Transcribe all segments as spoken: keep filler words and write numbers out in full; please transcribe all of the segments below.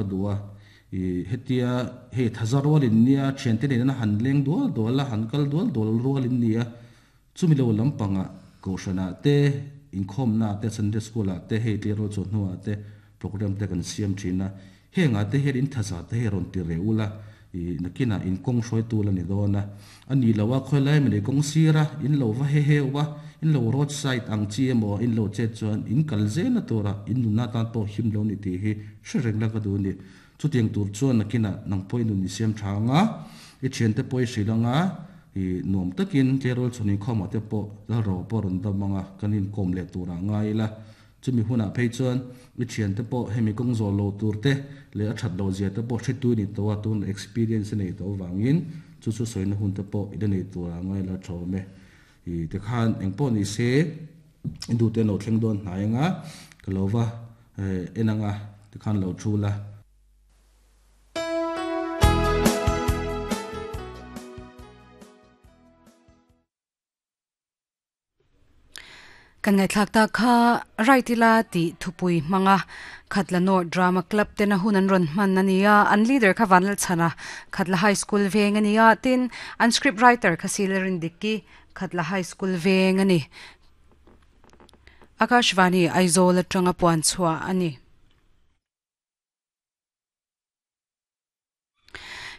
ka duwa i hetia hei thazar rualin nia thian te nen han leng dual dual la han kal dual dual rualin nia chumi lo lampanga kohrana te inkhawm na te Sunday school ah te hei tleirawl chu hnuah te program te kan siam thina henga te hian in thaza te hi rawn ti reu la i nakina in kawng hruai tu la ni dawn a ani lowa khawilai mani kawng sira in lo va he he wa in lo road side ang chi emaw in lo che chuan in kal zel na tura in nunna tan pawh him lo ni tih hi hre reng la ka duh ni chutiang tur chuan nakina nang pawhin nun i siam tha anga i thian te pawh i hrilh anga i nuam takin tleirawl chhun inkhawmah te pawh lalro pawh rawn dam anga kan inkawm leh turah ngai ila chumi hunah phei chuan i thian te pawh hemi kawng zawh lo tur te leh a that lo zia te pawh hre tui ni tawh a tun experience nei tawh wangin chu chu sawina hun te pawh i la nei turah ngai la thawm e i te khan engpawh ni se du te lo thleng dawn hnai anga ka lo va enanga te khan lo thu la. Kan ngai thlak ta kha raitila ti thupui manga Khatla North Drama Club te na hun an ron hman ania an leader kha Vanlal Chhana Khatla High School veng ania tin an script writer kha Silerin Dikki Khatla High School veng ani Akashvani Aizawl atanga puan chhuah ani.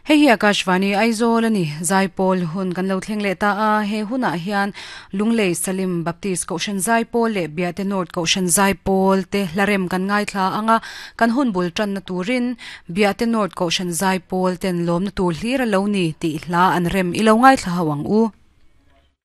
Hei hi Akashvani Aizawl ani Zaipawl hun kan lo thleng leh ta a he hunah hian Lunglei Salim Baptist Kohhran Zaipawl leh Biate North Kohhran Zaipawl te hlarem kan ngai thla anga kan hun bul tan na turin Biate North Kohhran Zaipawl ten lawm na tur hlir a lo ni tih hla an rem ilo ngai thla hawang u.